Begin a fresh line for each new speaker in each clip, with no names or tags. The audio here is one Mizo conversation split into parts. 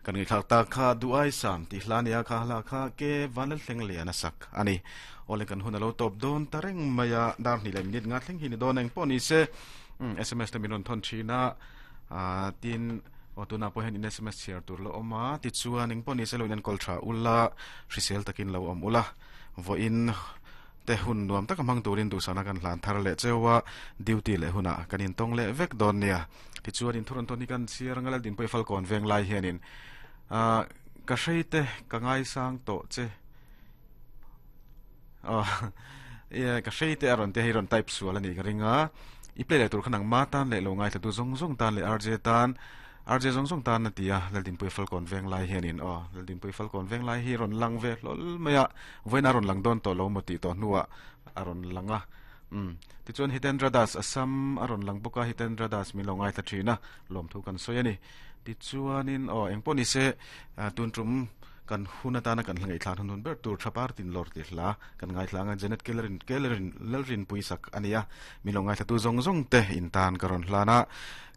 Kan ngaihthlak tak kha Duai Sam tih hla nia kha hla kha ke Vanlalthleng Lian a sak a ni. Awle kan hun a lo tawp dawn ta reng mai a, dar hnih leh minute nga thleng hi ni dawn eng pawh ni se sms te min rawn thawn thin a, tin aw tunah pawh hian in sms chhiar tur la awm a, tichuan eng pawh ni se lo in enkawl tha ula, hrisel takin lo awm ula, vawiin te hun nuam taka hmang turin duhsakna kan hlan thar leh cheu a, duty leh hunah kan intawng leh vek dawn nia. Tichuan in thurawn tawn hi kan chhiar anga Laldinpuii Falkawn veng lai hianin ah ka hrei te ka ngaisang tawh che ah ka hrei te a rawn tia hei rawn type sual a nih ka ring a i play leh tur kha nangma tan leh lo ngaithla tu zawng zawng tan leh RJ tan RJ zawng zawng tan a ti a Laldinpuii Falkawn veng lai hianin aw Laldinpuii Falkawn veng lai hi rawn lang ve hlawl mai a vawiin a rawn lang dawn tawh lo maw tih tawh hnuah a rawn lang a. Umm. Tichuan Hitendra Das Assam a rawn lang bawk a, Hitendra Das min lo ngaithla thin a, lawmthu kan sawi a ni. Tichuanin aw engpawh ni se tun tum kan hun atana kan hla ngaihthlak hun hun ber tur tha par tin lawr tih hla kan ngaithla ang a, Janet Kellerin Kellerin Lalrinpui sak a ni a, min lo ngaithlatu zawng zawng te in tan ka rawn hlan a.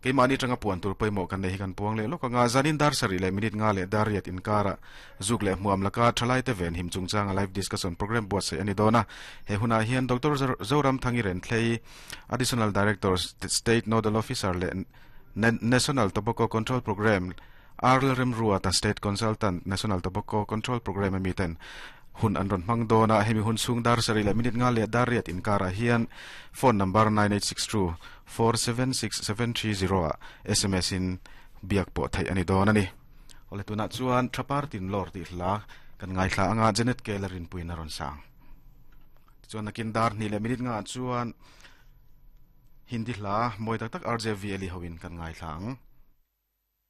Keimahni atanga puan tur pawimawh kan nei hi kan puang leh lawk ang a, zanin dar sarih leh minute nga leh dar riat inkarah Zuk leh hmuam laka thalaite venhim chungchanga live discussion programme buatsaih a ni dawn a. He hunah hian Doctor Zoramthangi Renthlei, Additional Director, State Nodal Officer leh National Tobacco Control Programme, R Lalremruata, State Consultant, National Tobacco Control Programme ami ten hun an rawn hmang dawn a. Hemi hun chhung dar sarih leh minute nga leh dar riat inkarah hian phone number 9862 476 730 ah sms in biak pawh theih a ni dawn a ni. Awle tunah chuan Thapar tin lawr tih hla kan ngaithla anga Janet Keller rinpuiin a rawn sang. Tichuan nakin dar hnih leh minute ngah chuan Hindi hla mawi tak tak RJV Eli hoin kan ngaithla ang.